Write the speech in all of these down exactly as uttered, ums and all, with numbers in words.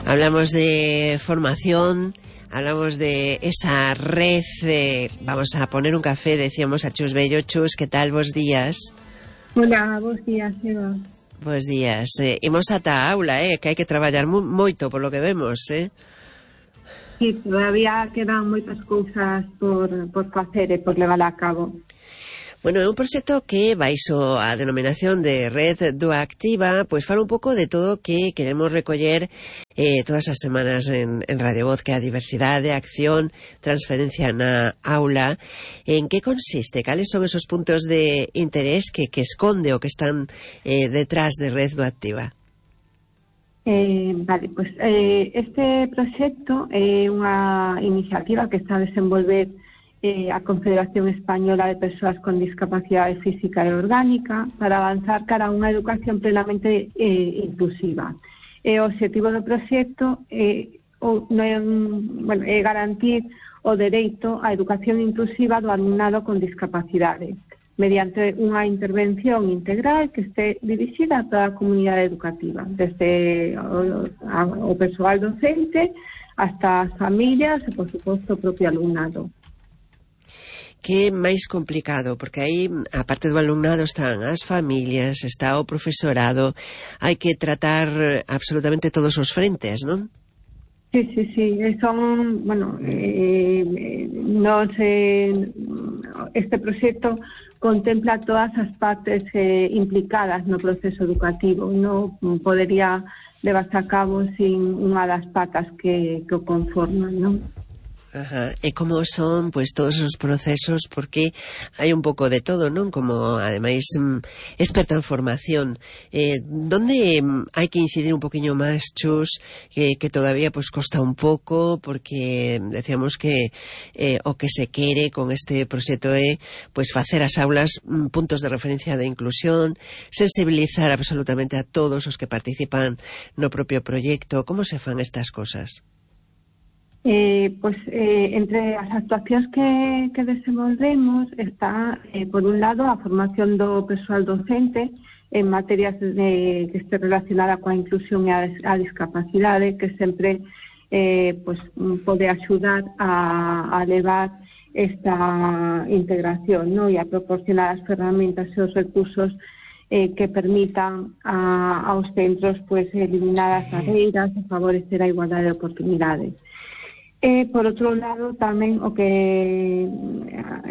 Hablamos de formación, hablamos de esa red, de, vamos a poner un café, decíamos a Chus Bello. Chus, ¿qué tal? Bos días. Hola, bos días, Eva. Bos días. Eh, imos ata a aula, eh, que hai que traballar mu moito por lo que vemos, eh. Sí, todavía quedan moitas cousas por, por facer e por levar a cabo. Bueno, é un proxecto que baixo a denominación de Red Duactiva, pois fala un pouco de todo o que queremos recoller eh, todas as semanas en, en Radio Voz, que é a diversidade, acción, transferencia na aula. En que consiste? Cales son esos puntos de interés que, que esconde o que están eh, detrás de Red Duactiva? Eh, vale, pues eh, este proxecto é unha iniciativa que está a desenvolver Eh, a Confederación Española de Persoas con Discapacidade Física e Orgánica para avanzar cara a unha educación plenamente eh, inclusiva. E o objetivo do proxecto é, o, no é, bueno, é garantir o dereito á educación inclusiva do alumnado con discapacidade mediante unha intervención integral que este dirixida a toda a comunidade educativa, desde o, a, o persoal docente hasta as familias e, por suposto, o propio alumnado. Que é máis complicado, porque aí, a parte do alumnado, están as familias, está o profesorado, hai que tratar absolutamente todos os frentes, non? Sí, sí, sí, son, bueno, eh, nos, eh, este proxecto contempla todas as partes eh, implicadas no proceso educativo, non podería levarse a cabo sin unha das patas que, que o conforman, non? Ajá. E como son, pois, todos os procesos, porque hai un pouco de todo, non? Como, ademais, experta en formación, eh, donde hai que incidir un poquinho máis, Chus, que, que todavía, pois, costa un pouco, porque decíamos que eh, o que se quere con este proxecto é, pois, facer as aulas puntos de referencia de inclusión, sensibilizar absolutamente a todos os que participan no propio proxecto. Como se fan estas cosas? Eh, pues eh, entre as actuacións que, que desenvolvemos está, eh, por un lado, a formación do persoal docente en materias de, que este relacionada coa inclusión e a, a discapacidade, que sempre eh, pues, pode axudar a, a levar esta integración, ¿no? E a proporcionar as ferramentas e os recursos eh, que permitan a, aos centros pues, eliminar as barreiras e favorecer a igualdade de oportunidades. E, por outro lado, tamén o que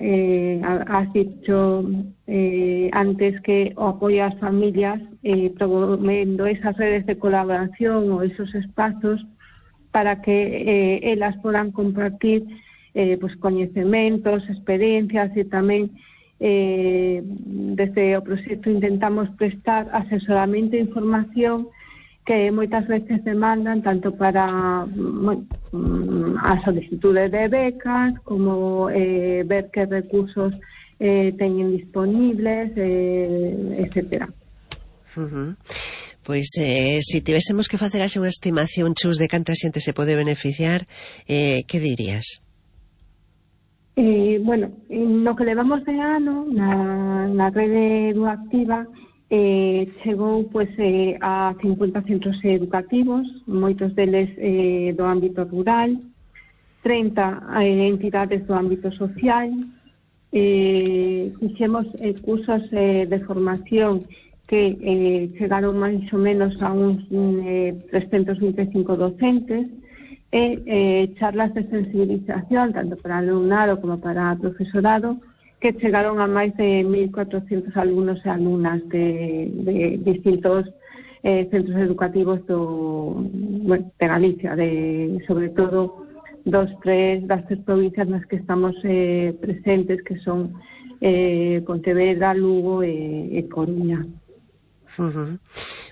eh, has dicho eh, antes, que o apoio ás familias, eh, promovendo esas redes de colaboración ou esos espazos para que eh, elas podan compartir eh, pues, coñecementos, experiencias, e tamén eh, desde o proxecto intentamos prestar asesoramento e información que moitas veces demandan tanto para bueno, a solicitude de becas como eh, ver que recursos eh, teñen disponibles, eh, etcétera. Uh-huh. Pois, eh, se tivésemos que facer así unha estimación, Chus, de canta xente se pode beneficiar, eh, que dirías? Eh, bueno, no que levamos de ano na, na rede Duactiva, Eh, chegou pues, eh, a cincuenta centros educativos, moitos deles eh, do ámbito rural, treinta eh, entidades do ámbito social, eh, fixemos eh, cursos eh, de formación que eh, chegaron máis ou menos a uns eh, trescentos vinte e cinco docentes, e eh, charlas de sensibilización tanto para alumnado como para profesorado, que chegaron a máis de mil cuatrocentos alumnos e alumnas de, de distintos eh, centros educativos do, bueno, de Galicia, de, sobre todo dos, tres, das tres provincias nas que estamos eh, presentes, que son eh, Pontevedra, Lugo e, e Coruña. Uh-huh.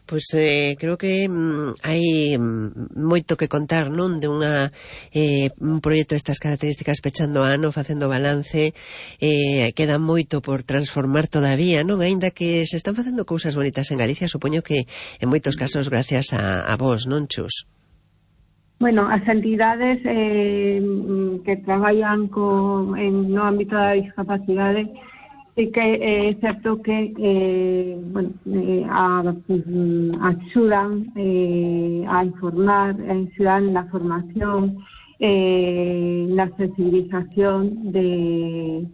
Pois eh, creo que mm, hai mm, moito que contar, non? De unha eh, un proxecto destas características pechando ano, facendo balance, eh, queda moito por transformar todavía, non? Aínda que se están facendo cousas bonitas en Galicia, supoño que en moitos casos gracias a, a vos, non, Chus? Bueno, as entidades eh, que traballan co, en, no ámbito da discapacidade, sí que é certo que eh, bueno, eh, a, axudan eh, a informar, a incidir en la formación, eh, la sensibilización de,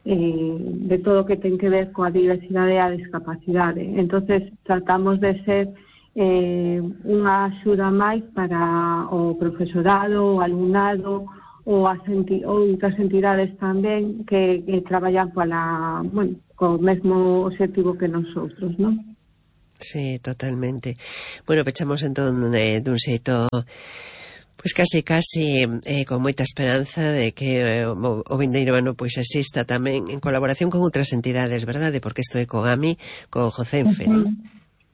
eh, de todo o que ten que ver coa diversidade e a discapacidade. Entonces, tratamos de ser eh, unha axuda máis para o profesorado, o alumnado, ou as enti outras entidades tamén que, que traballan para, bueno, co mesmo objetivo que nosotros, non? Sí, totalmente. Bueno, pechamos entón eh, dun xeito pois casi casi eh, con moita esperanza de que eh, o, o vindeiro ano pois exista tamén en colaboración con outras entidades, verdade? Porque isto é co GAMI, co Jocenfe, Uh-huh. non?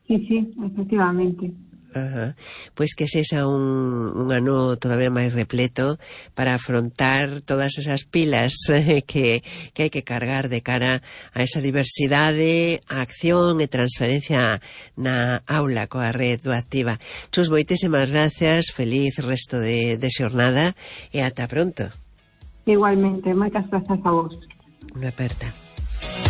Sí, sí, efectivamente. Ajá. Pois que sexa un, un ano todavía máis repleto para afrontar todas esas pilas eh, que, que hai que cargar de cara a esa diversidade, a acción e transferencia na aula coa red Duactiva. Chus, moitísimas gracias, feliz resto de, de xornada e ata pronto. Igualmente, moitas grazas a vos. Unha aperta.